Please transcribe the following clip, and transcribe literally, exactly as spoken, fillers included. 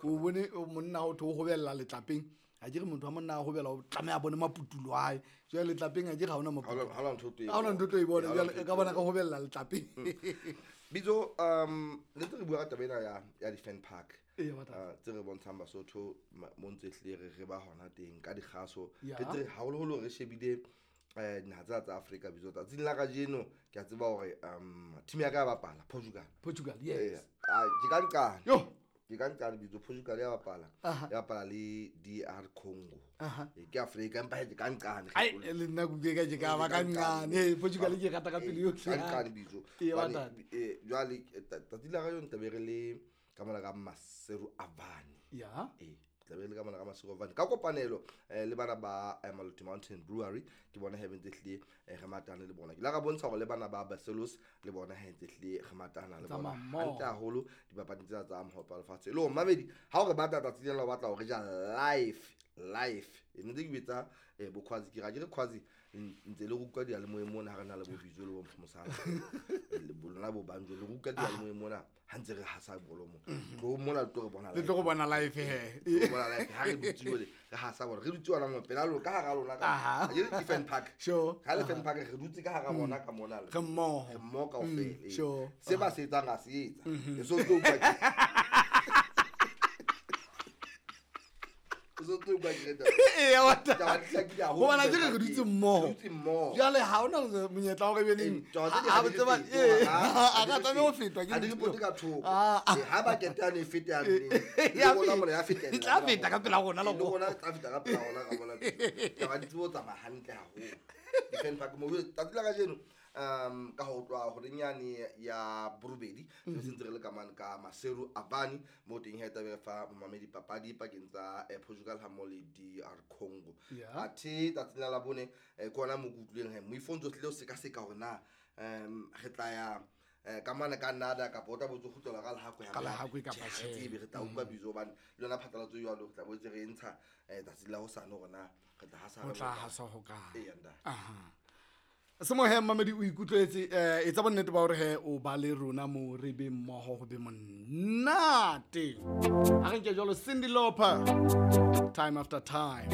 O bone monna o tho hobella letlapeng. A ke re motho wa monna a hobela o tlameha bone maputulo a hae. Jwale letlapeng a ke ha hona maputulo. Ha hona ntho e Ha hona ntho e bona jwale ka bona ka hobella letlapeng. Bitso um le ntse re bua ka taba ena ya ya di fan park. Ee, batata. Tse re bontshang Basotho mo ntse hle re re ba hona teng ka dikgaso. Ya. Re tse haholoholo re shebile eh dinaha tsa tsa Afrika bitso. Tsatsing la kajeno ke a tseba hore um team ya ka ya bapala Portugal. Portugal, yes. Eh, ke ka nqane. Yo. Ke ka nqane bitso Portugal ya bapala. Aha. Ya bapala le D R Congo. Aha. Eh, ke Afrika empa ke ka nqane. Ai le nna ke ka ke ka ba ka nqane. Eh, Portugal ke rata ka pele yohle. Ka nqane bitso. Ee, Hobane, batata. eh, jwale tsatsi la kajeno tla be re le ka mona ka Maseru Avani. Ya. Eh, tla be le ka mona ka Maseru Avani. Ka kopanelo eh, le bana ba eh, Maluti Mountain Brewery ke bona he bentse hlile eh, re matana le bona. Ke la ka bontsha hore le bana ba Barcelos le bona he ntse hlile re matana le Tsamaya bona. mmoho. Hantle haholo dipapading tsena tsa mohope wa lefatshe. E le hore mamedi ha o re batla tsatsi lena o batla hore ja live live. E ntse ke betsa eh, bo Khwazi ke ra ke re Khwazi ntse le utlwa diyalemoyeng mona ha re na le bo Bitso le bo Mfumosana. Le lona bo Banjo le utlwa diyalemoyeng mona ha ntse re hasa bolo mo. Tlo mona le tlo re bona Le live. tlo go bona live he. Tlo re bona live ha re dutse jwale re hasa bolo. Re dutse hona mo pela lona ka hara lona ka. Aha. Ha ke re ke fan park. Sure. Ha le fan park re dutse ka hara bona ka mona le. Re mmoho. Re mmoho kaofela, Mm, ee. sure. Se ba se etsang ha se etsa. E so tlo utlwa ke- O so tlo utlwa ke re taba. Ee, wa ta- Taba di hlakile haholo. Hobane akere re dutse mmoho. Re dutse mmoho. Jwale ha hona monyetla wa hore ebe neng. Eh, taba tse di Ha ha ba di tseba- fetwe, ee, ha, ha ha di ka tlameha ho fetwe. fetwa ke Ha di ntho. repote ka thoko. Ah, ah. Eh, ha ba keta yane e fete yane. Eh, Le ya rona feta. mona ya fetella E tla feta ka pela rona le Le rona. rona e tla feta ka pela rona ka mona. Taba di tsebo ho tsamaya hantle haholo. Di-fan park mo tsatsi la kajeno um ka ho tloha horeng yane ya borobedi re sentse re le ka mane ka Maseru Avani mo teng ha e tla be re fa momamedi papadi pakeng tsa eh, Portugal ha mmoho le D R Congo. Ya. Athe tsatsing la Labone eh, ke hona moo ke utlwileng he moifo o ntso tlile ho sekaseka hore na um re tla ya eh, ka mane ka nada kapa o tla bo tso kgutlela ka Lehakwe Ka Lehakwe kapa Tjhe, ha tjhe. re tsebe, re tla utlwa bitso hobane le yona phatlalatso e jwalo re tla boetse re e ntsha eh, tsatsing la hosane hore na re tla hasa Ho re tla bokae. hasa ho kae. Eya, ntate. Aha. Semohe mamedi o ikutlwetse eh etsa bonnete ba hore he o ba le rona mo re be mmoho ho be monate. A re nke jwalo Cyndi Lauper, Time After Time.